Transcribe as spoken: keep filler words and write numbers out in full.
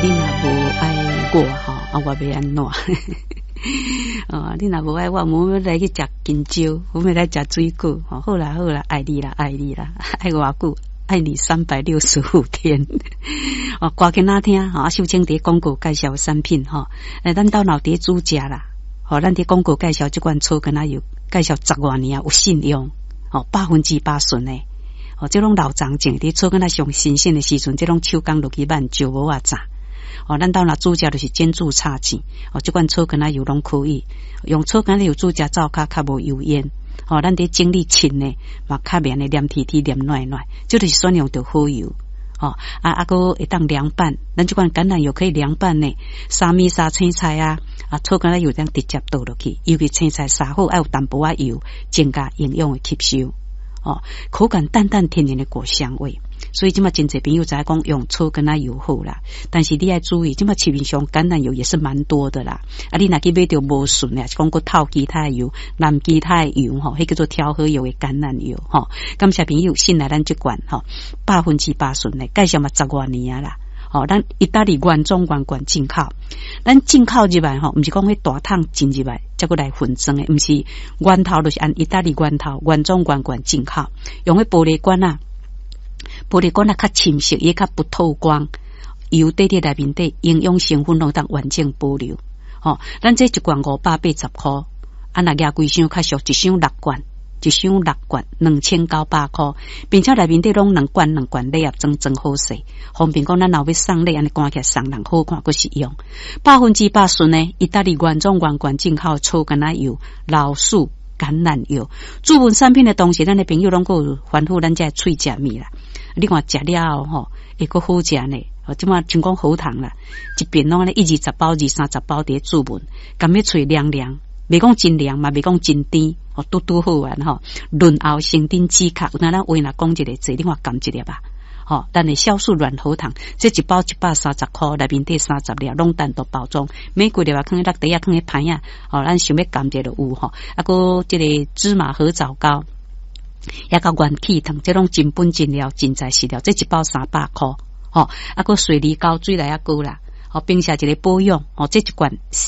你若無愛我吼，啊，我欲按怎？哦，你若無愛我，我欲來去食香蕉，我欲來食水果。吼，好啦好啦，愛你啦愛你啦，愛偌久？愛你三百六十五天。哦，歌給哪聽？吼，啊，秀清佇廣告介紹產品吼，欸，咱兜若佇煮食啦，吼，咱佇廣告介紹這款草根仔油，介紹十外年啊，有信用，吼，百分之百純的。哦，這攏老欉種，佇草根仔上新鮮的時陣，這攏手工落去挽，石磨仔榨。哦，咱兜若煮食就是煎煮炒煎，哦，這款草根仔油攏可以用草根仔油煮食，灶跤較無油煙。哦，咱佇整理凊的嘛，較袂按呢黏貼貼、黏軟軟，這就是選用著好油。哦，啊啊，閣會當涼拌，咱這款橄欖油可以涼拌呢，沙米沙青菜啊，啊，草根仔油當直接倒落去，尤其青菜沙好，愛有淡薄仔油，增加營養的吸收。哦，口感淡淡甜甜的果香味。所以這馬真濟朋友知影講用草根仔油好啦，但是你愛注意，這馬市面上橄欖油也是蠻多的啦。啊，你若去買著無純的，是講閣透其他的油、淋其他的油吼，彼叫做調和油的橄欖油吼。感謝朋友信賴咱這罐吼，百分之百純的，介紹嘛十外年啊啦。吼，咱意大利原裝原罐進口，咱進口入來吼，毋是講彼大桶進入來，才閣來分裝的，毋是源頭就是按意大利源頭原裝原罐進口，用彼玻璃罐仔。玻璃罐仔較深色，也較不透光，油底佇內面底營養成分攏當完整保留。吼，咱這一罐五百八十箍，啊，若額幾箱較俗，一箱六罐，一箱六罐兩千九百箍，並且內面底攏兩罐兩罐禮盒裝裝好勢，方便講咱若欲送禮，按呢關起來送人好看，閣實用。百分之百純的意大利原裝原罐進口草根仔油、老樹橄欖油，注文產品的同時，咱的朋友攏閣有吩咐咱這喙食物啦。你看食了後吼，會閣好食呢。哦，這馬像講喉糖啦，一瓶攏按呢一二十包、二三十包佇咧注文，含咧喙涼涼，袂講真涼嘛，袂講真甜，哦，拄拄好完吼。潤喉生津止渴，有當咱話若講一个字，你看含一粒吧。吼，咱的酵素軟喉糖，這一包一百三十箍，內面底三十粒，攏單獨包裝，每幾粒啊，囥佇落袋仔，囥佇盤仔，吼，咱想欲含一个就有吼。啊，閣這个芝麻褐藻膏，也佮元氣糖，這攏真本真料，真材實料，這一包三百箍，吼，啊，閣水梨膏水來仔膏啦，吼，冰下一个保養，吼，這一罐。